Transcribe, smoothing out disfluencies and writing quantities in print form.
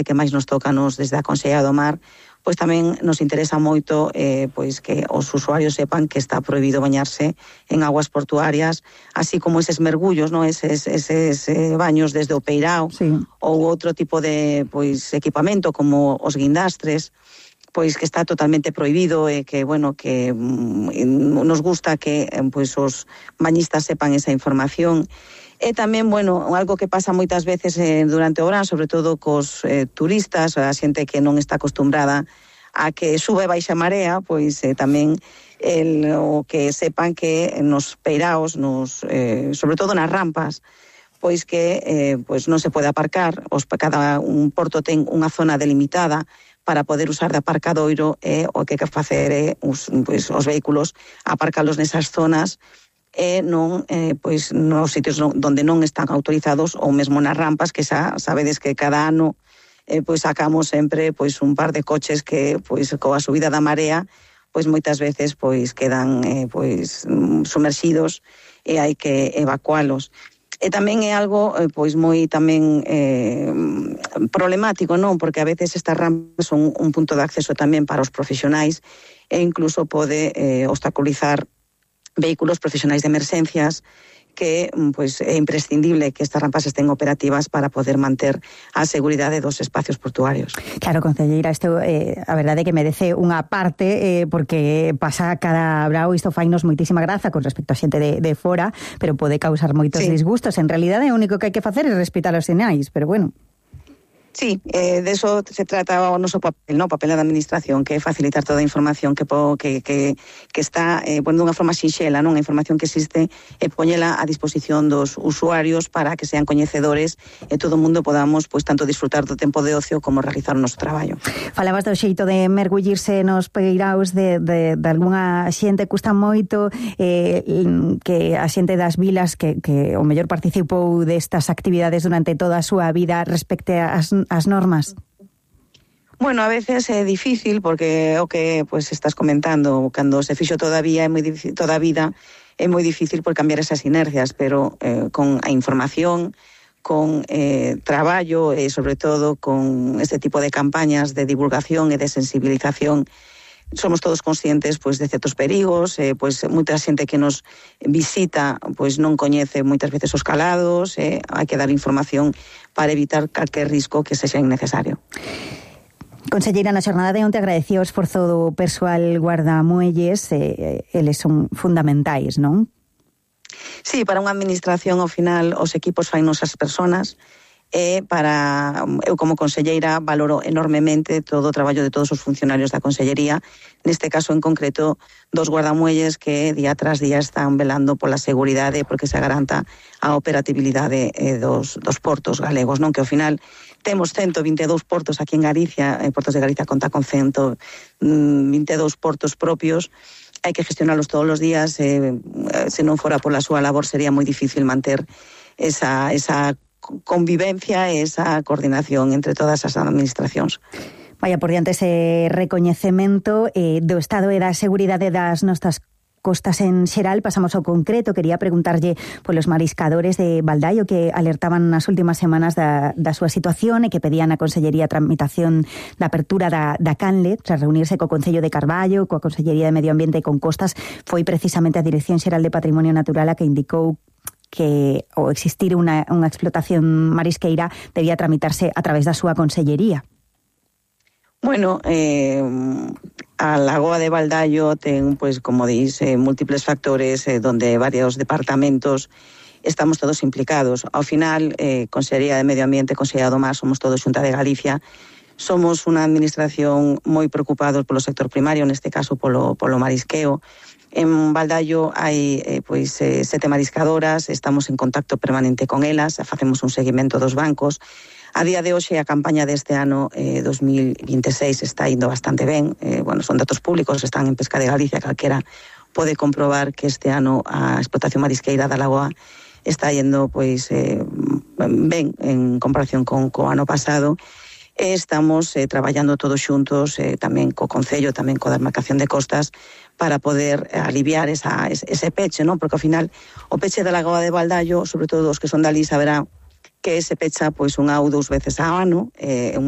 que máis nos toca desde a Consellería do Mar, pois tamén nos interesa moito pois que os usuarios sepan que está prohibido bañarse en aguas portuarias, así como eses mergullos, non? Eses baños desde o peirao, sí, ou outro tipo de pois equipamento como os guindastres, pois que está totalmente prohibido e que, bueno, que nos gusta que pois os bañistas sepan esa información. E tamén, bueno, algo que pasa moitas veces durante o verán, sobre todo cos turistas, a xente que non está acostumbrada a que sube e baixa a marea, pois tamén o que sepan que nos peiraos, sobre todo nas rampas, pois que pois non se pode aparcar, cada un porto ten unha zona delimitada para poder usar de aparcadoiro, o que hai que facer é os vehículos aparcalos nesas zonas e non pois nos sitios onde non están autorizados, ou mesmo nas rampas, que xa sabedes que cada ano pois sacamos sempre pois un par de coches que pois coa subida da marea pois moitas veces pois quedan pois sumerxidos e hai que evacualos. E tamén é algo pois moi tamén problemático, non? Porque a veces estas rampas son un punto de acceso tamén para os profesionais e incluso pode obstaculizar vehículos profesionais de emerxencias, que pois é imprescindible que estas rampas estén operativas para poder manter a seguridade dos espacios portuarios. Claro, concelleira, isto a verdade é que merece unha parte porque pasa cada brao, isto fainos moitísima graza con respecto a xente de fora, pero pode causar moitos disgustos. En realidade o único que hai que facer é respetar os sinais, pero bueno. Sí, de eso se trata o noso papel, ¿no? Papel da administración, que é facilitar toda a información que está dunha forma sinxela, non? A información que existe e poñela a disposición dos usuarios para que sean coñecedores e todo o mundo podamos pois tanto disfrutar do tempo de ocio como realizar o noso traballo. Falabas do xeito de mergullirse nos peiraos de algunha xente, custa moito que a xente das vilas que o mellor participou destas actividades durante toda a súa vida respecte as normas? Bueno, a veces é difícil porque o que pues estás comentando, cando se fixo toda a vida é moi difícil por cambiar esas inercias, pero con a información, con traballo e sobre todo con este tipo de campañas de divulgación e de sensibilización, somos todos conscientes pois de certos perigos, pois moita xente que nos visita pois non coñece moitas veces os calados, hai que dar información para evitar calquer risco que sexa innecesario. Conselleira, na xornada de onte agradecía o esforzo do persoal guardamuelles, eles son fundamentais, non? Sí, para unha administración ao final os equipos fainos as persoas, eu como conselleira valoro enormemente todo o traballo de todos os funcionarios da consellería, neste caso en concreto dos guardamuelles que día tras día están velando pola seguridade porque se garanta a operatividade dos portos galegos, non? Que ao final temos 122 portos aquí en Galicia, Portos de Galicia conta con 122 portos propios, hai que gestionarlos todos os días, se non fora pola súa labor sería moi difícil manter esa convivencia e esa coordinación entre todas as administracións. Vaya por diante ese recoñecemento do estado e da seguridade das nosas costas en xeral. Pasamos ao concreto. Quería preguntarlle polos mariscadores de Baldaio que alertaban nas últimas semanas da súa situación e que pedían a Consellería a tramitación da apertura da Canle tras reunirse co Concello de Carballo, coa Consellería de Medio Ambiente e con Costas. Foi precisamente a Dirección Xeral de Patrimonio Natural a que indicou que ao existir unha explotación marisqueira debía tramitarse a través da súa consellería. Bueno, a Lagoa de Baldaio ten, pues, como dís, múltiples factores donde varios departamentos estamos todos implicados. Ao final, Consellería de Medio Ambiente, Consellería do Mar, somos todos Xunta de Galicia. Somos unha administración moi preocupados polo sector primario, neste caso polo marisqueo. En Baldaio hai 7 mariscadoras, estamos en contacto permanente con elas, facemos un seguimento dos bancos. A día de hoxe a campaña deste ano 2026 está indo bastante ben, son datos públicos, están en Pesca de Galicia, calquera pode comprobar que este ano a explotación marisqueira da Lagoa está yendo ben en comparación co ano pasado. Estamos traballando todos xuntos, tamén co Concello, tamén coa demarcación de costas, para poder aliviar ese peche, non? Porque ao final o peche da Lagoa de Baldaio, sobre todo os que son dali, saberá que se pecha pois unha ou dous veces ao ano, un